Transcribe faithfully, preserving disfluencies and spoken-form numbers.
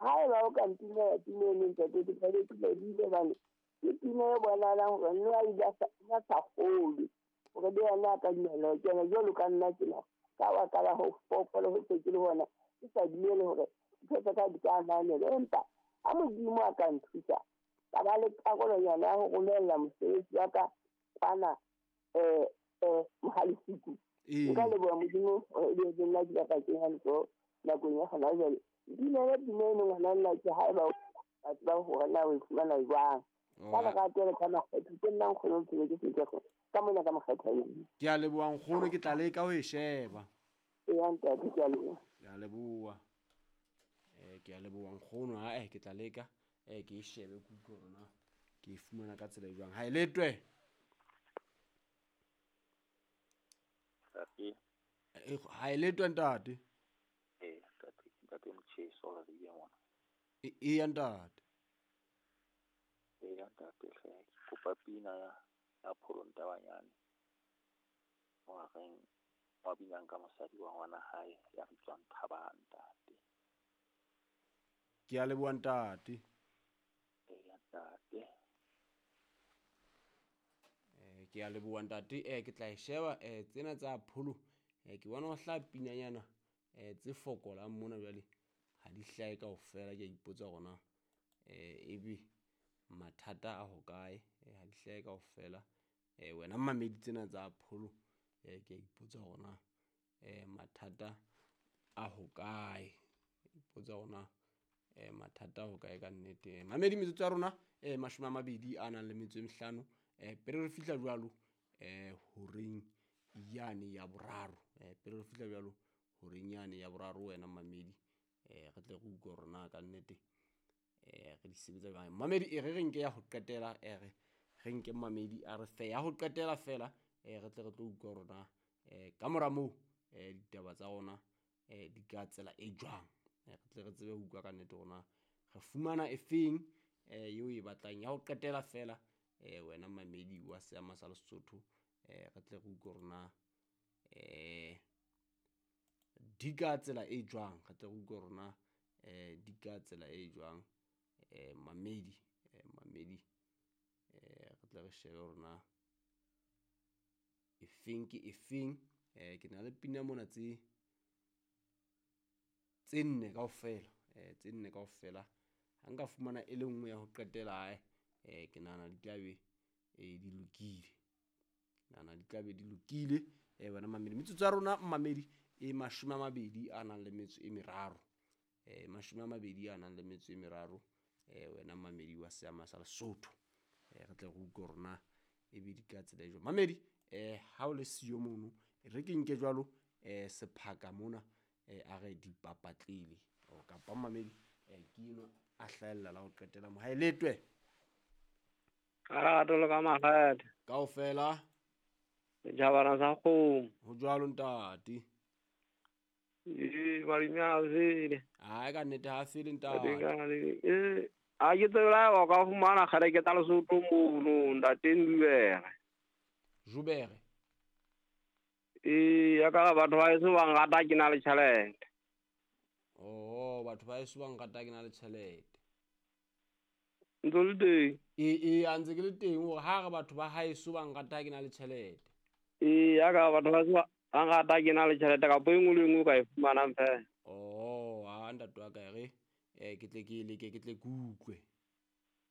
Haeba o ka ntumela pina eno ntate, ke tlabe ke lebohile hobane ke pina e bonahalang hore nna a ile a sa kgolwe hore le yena a ka dumela ho kena jwalo ka nna tjena. Ka baka la ho fokola ho se ke le hona, ke sa dumele hore ntho tsa ka di ka ananelwa. Empa ha Modimo a ka nthusa, ka ba le karolonyana ya ho romella mosebetsi wa ka kwana um um Mohalefiku. Nka leboha Modimo hore ebe nna ke ka kenya letsoho nakong ya hona jwale. Dumele pina eno ngwana nna ke haeba ba tseba hore na o e fumana jwang. Ka lerato le ka makgetho, ke nna nkgono Bophelo ke se ka mona ka makgetho. Ke a leboha nkgono, ke tla leka ho e sheba. Eya ntate, ke a leboha. Ke a leboha. Eh ke a leboha nkgono, ha eh ke tla leka eh ke e shebe ke utlwe hore na ke e fumana ka tsela e jwang. Ha e letwe. Ntate. Ha e letwe ntate. Eh ntate, ntate Motjheso re ile mona. E eya ntate. Eya ntate hle, ke kopa pina ya ya Pholo Ntabanyane. Wa reng wa binang ka mosadi wa ngwana hae ya bitswang Thabang ntate. Ke a leboha ntate. Eya ntate. Eh ke a leboha ntate, eh ke tla e sheba eh tsena tsa Pholo eh ke bona ho hlaha pinanyana eh tse fokolang mona jwale ha di hlahe kaofela. Ke a ipotsa hore na eh ebe mathata a hokae, eh ha di hlahe kaofela. Eh wena mamedi tsena tsa Pholo eh ke a ipotsa hore na eh mathata a hokae, ipotsa hore na eh mathata a hokae ka nnete. Mamedi metsotso ya rona eh mashome a mabedi a nang le metso e mehlano eh pele re fihla jwalo eh horeng yane ya boraro, eh pele re fihla jwalo horeng yane ya boraro wena mamedi eh re tle re utlwe hore na ka nnete eh re di sebetsa jwang. Mamedi e re re nke ya ho qetela, eh re re nke mamedi a re fe ya ho qetela fela eh re tle re tlo utlwa hore na eh ka mora moo eh ditaba tsa rona eh di ka tsela e jwang. Re tle re tsebe ho utlwa ka nnete hore na re fumana efeng eh eo e batlang ya ho qetela fela eh wena mamedi wa Seama sa Lesotho eh re tle re utlwe hore na eh di ka tsela e jwang, re tle re utlwe hore na eh di ka tsela e jwang eh mamedi eh mamedi eh re tle re shebe hore na efeng ke efeng. Eh ke na le pina mona tse tse nne kaofela, eh tse nne kaofela. Ha nka fumana e le nngwe ya ho qetela hae eh ke nahana di tla be eh di lokile, nahana di tla be di lokile. Eh wena mamedi, metsotso ya rona mamedi e mashome a mabedi a nang le metso e meraro, eh mashome a mabedi a nang le metso e meraro eh wena mamedi wa Seama sa Lesotho eh re tle re utlwe hore na ebe di ka tsela e jwang. Mamedi eh ha o le siyo mono re ke nke jwalo eh sephaka mona eh a re dipapatlele kapa mamedi eh ke eno a hlahella la ho qetela mo. Ha e letwe ka le ka makgethe kaofela setjhabana sa kgomo. Ho jwalo ntate. Ee malome a fele. Ai ka nnete ha fele ntate. Ee a ke tsebe la o ka fumana kgale ke tsa Lesotho mono ntate Ndubere. Jubere. Ee ya ka batho ba heso ba nrata ke na le tjhelete. Oh batho ba heso ba nrata ke na le tjhelete. Ntse le teng? Ee ee a ntse ke le teng hore ha re batho ba haeso ba nrata ke na le tjhelete. Ee ya ka batho ba heso ba nrata ke na le tjhelete kapa e nngwe le e nngwe o ka e fumanang fela. Oh ha ntate wa ka e re eh ke tle ke leke ke tle ke utlwe.